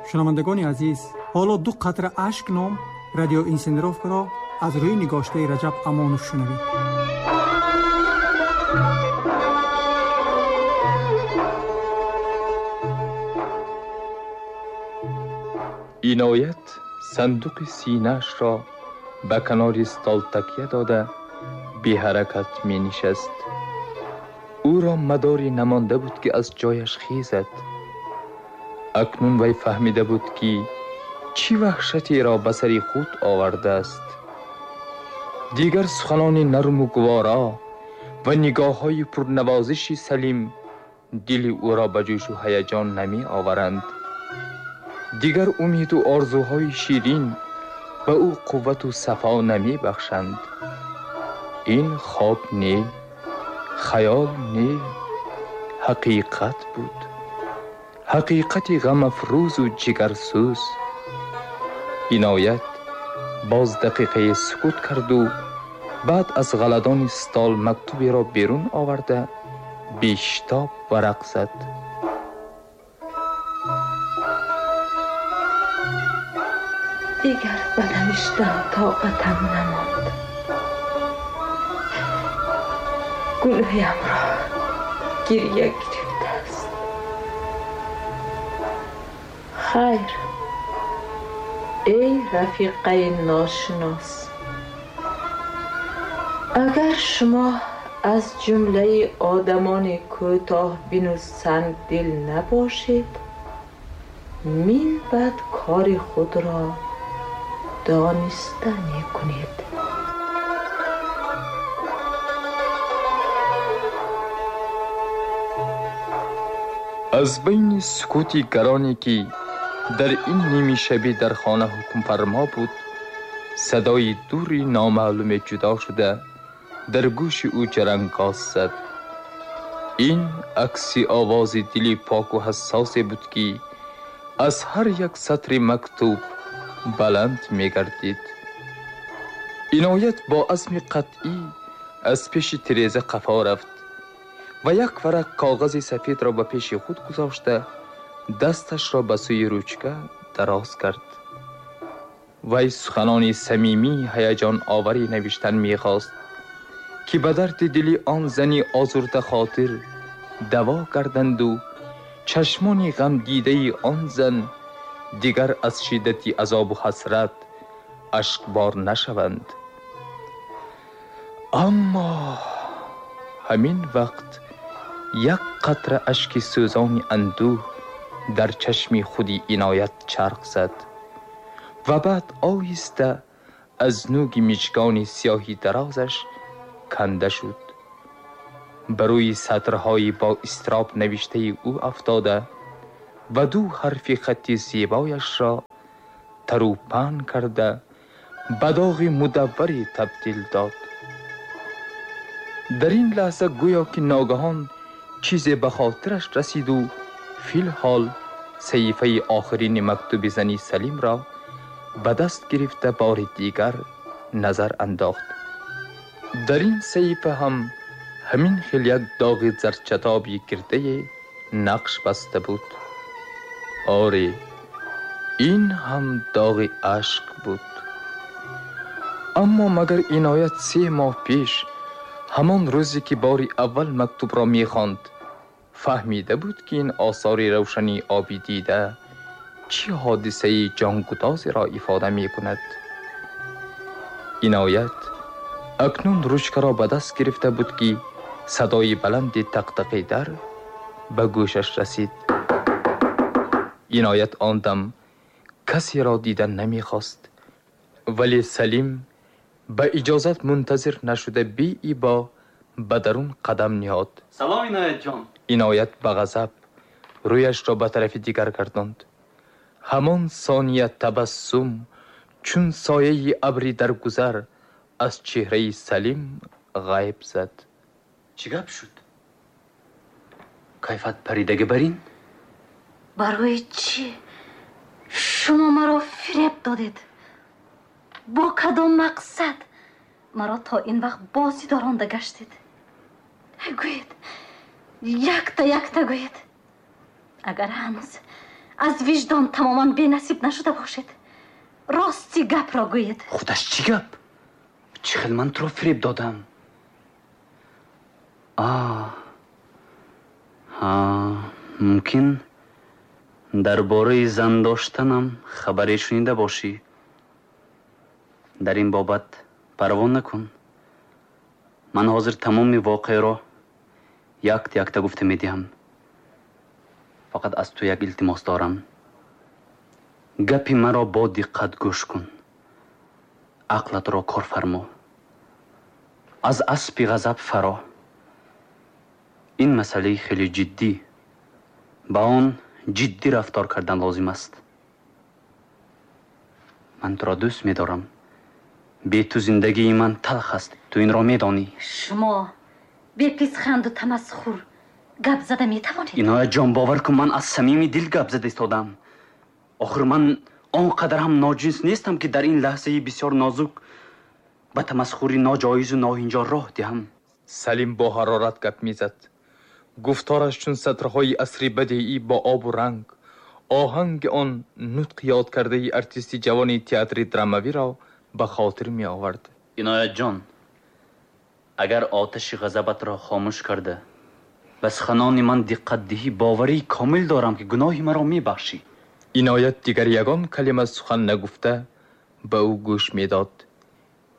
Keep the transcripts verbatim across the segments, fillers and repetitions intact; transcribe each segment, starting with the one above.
Шунавандагони азиз, ҳоло ду қатра ашк ном радиоинсценировкаро аз рӯи нигоштаи Раҷаб Амонов шунавед. Иноят сандуқи синаашро ба канори стол такя дода беҳаракат менишаст. Ӯро мадоре намонда буд, ки аз ҷояш хезад. Акнун вай фаҳмида буд, ки чӣ ваҳшатеро ба сари худ овардааст. Дигар суханони нарму гувора ва нигоҳҳои пурнавозиши Салим дили ӯро ба ҷӯшу ҳаяҷон намеоваранд. Дигар умеду орзуҳои ширин ба ӯ қуввату сафо намебахшанд. Ин хоб не, хаёл не, ҳақиқат буд. Ҳақиқати ғамафрӯзу ҷигарсӯз. Иноят боз дақиқае сукут карду баъд аз ғаладони стол мактуберо берун оварда бештоб варақ зад. Дигар ба навиштан тоқатам намонд. Гулӯямро гиря гирифтааст. Хайр, эй рафиқаи ношинос, агар шумо аз ҷумлаи одамони кӯтоҳбину сангдил набошед, мин баъд кори худро дониста мекунед. Аз байни сукути гароне, ки дар ин нимишабӣ дар хона ҳукмфармо буд, садои дури номаълуме ҷудо шуда дар гӯши ӯ ҷарангоз зад. Ин акси овози дили поку ҳассосе буд, ки аз ҳар як сатри мактуб баланд мегардид. Иноят бо азми қатъӣ аз пеши тиреза қафо рафт ва як варақ коғази сафедро ба пеши худ гузошта дасташро ба сӯи ручка дароз кард. Вай суханони самимии ҳаяҷоноваре навиштан мехост, ки ба дарди дили он зани озурдахотир даво карданду чашмони ғамдидаи он зан дигар аз шиддати азобу ҳасрат ашкбор нашаванд. Аммо ҳамин вақт як қатра ашки сӯзони андӯҳ дар чашми худи Иноят чарх зад ва баъд оҳиста аз нӯги мижгони сиёҳи дарозаш канда шуд. Ба рӯи сатрҳои бо изтироб навиштаи ӯ афтода ва ду ҳарфи хатти зебояшро тару паҳн карда ба доғи мудавваре табдил дод. Дар ин лаҳза гӯё ки ногаҳон чизе ба хотираш расиду филҳол саҳифаи охирини мактуби зани Салимро ба даст гирифта бори дигар назар андохт. Дар ин саҳифа ҳам ҳамин хел як доғи зарчатоби гирдае нақш баста буд. Оре, ин ҳам доғи ашк буд. Аммо магар Иноят се моҳ пеш, ҳамон рӯзе ки бори аввал мактубро мехонд, фаҳмида буд, ки ин осори равшании оби дида чӣ ҳодисаи ҷонгудозеро ифода мекунад. Иноят акнун ручкаро ба даст гирифта буд, ки садои баланди тақтақи дар ба гӯшаш расид. Иноят он дам касеро дидан намехост, вале Салим ба иҷозат мунтазир нашуда беибо ба дарун қадам ниҳод. Салом, Иноятҷон. Иноят ба ғазаб рӯяшро ба тарафи дигар гардонд. Ҳамон сония табассум чун сояи абри дар гузар аз чеҳраи Салим ғайб зад. Чӣ гап шуд? Кайфат паридаги барин? Барои чӣ шумо маро фиреб додед? Бо кадом мақсад маро то ин вақт бозӣ доронда гаштед? Гӯед, якта якта гӯед. Агар ҳанӯз аз виҷдон тамоман бенасиб нашуда бошед, рости гапро гӯед. Худаш чӣ гап? Чӣ хел ман туро фиреб додам? А ҳа, мумкин дар бораи зан доштанам хабаре шунида бошӣ. Дар ин бобат парво накун. Ман ҳозир тамоми воқеаро якта якта гуфта медиҳам. Фақат аз ту як илтимос дорам. Гапи маро бо диққат гӯш кун. Ақлатро кор фармо. Аз аспи ғазаб фаро. Ин масъалаи хеле ҷиддӣ. Ба он ҷиддӣ рафтор кардан лозим аст. Ман туро дӯст медорам. Бе ту зиндагии ман талх аст. Ту инро медонӣ. Шумо беписханду тамасхур гап зада метавонед? Иноят ҷон, бовар кун, ман аз самими дил гап зада истодам. Охир ман он қадар ҳам ноҷинс нестам, ки дар ин лаҳзаи бисёр нозук ба тамасхури ноҷоизу ноҳинҷор роҳ диҳам. Салим бо ҳарорат гап мезад. Гуфтораш чун сатрҳои асри бадеӣ бо обу ранг, оҳанги он нутқ ёд кардаи артисти ҷавони театри драмавиро ба хотир меовард. Иноят ҷон, агар оташи ғазабатро хомӯш карда ба суханони ман диққат диҳӣ, боварии комил дорам, ки гуноҳи маро мебахшӣ. Иноят дигар ягон калима сухан нагуфта ба ӯ гӯш медод.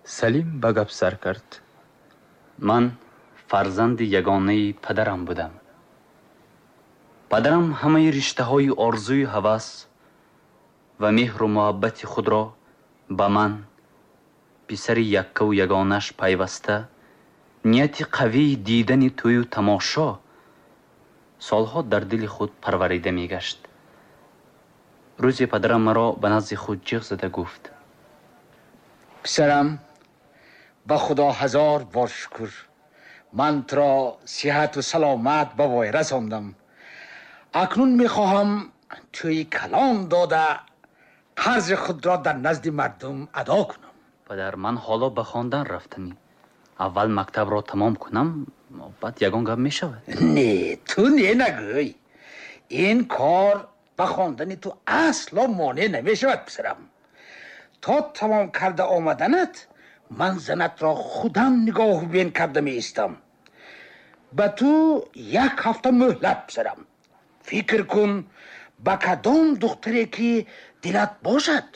Салим ба гап сар кард. Ман фарзанди ягонаи падарам будам. Падарам ҳамаи риштаҳои орзуи ҳавас ва меҳру муҳаббати худро ба ман, писари яккаву ягонаш, пайваста нияти қавии дидани тӯю тамошо солҳо дар дили худ парварида мегашт. Рӯзе падарам маро ба назди худ ҷиғ зада гуфт: писарам, ба худо ҳазор бор шукр, ман туро сиҳату саломат ба вой расондам. Акнун мехоҳам тӯи калон дода қарзи худро дар назди мардум адо кунам. Падар, ман ҳоло ба хондан рафтанӣ. Аввал мактабро тамом кунам, баъд ягон гап мешавад. Не, ту не нагӯй. Ин кор ба хондани ту асло монеъ намешавад, писарам. То тамом карда омаданат ман занатро худам нигоҳубин карда меистам. Ба ту як ҳафта муҳлат, писарам. Фикр кун, ба кадом духтаре ки дилат бошад,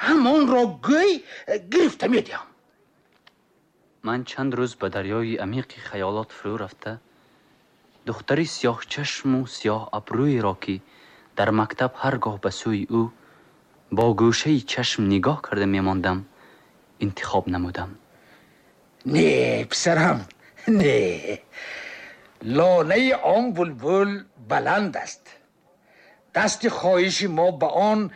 ҳамонро гӯй, гирифта медиҳам. Ман чанд рӯз ба дарёи амиқи хаёлот фурӯ рафта, духтари сиёҳчашму сиёҳ абрӯеро, ки дар мактаб ҳар гоҳ ба сӯи ӯ бо гӯшаи чашм нигоҳ карда мемондам, интихоб намудам. Не, писарам, не. Лонаи он булбул баланд аст. Дасти хоҳиши мо ба он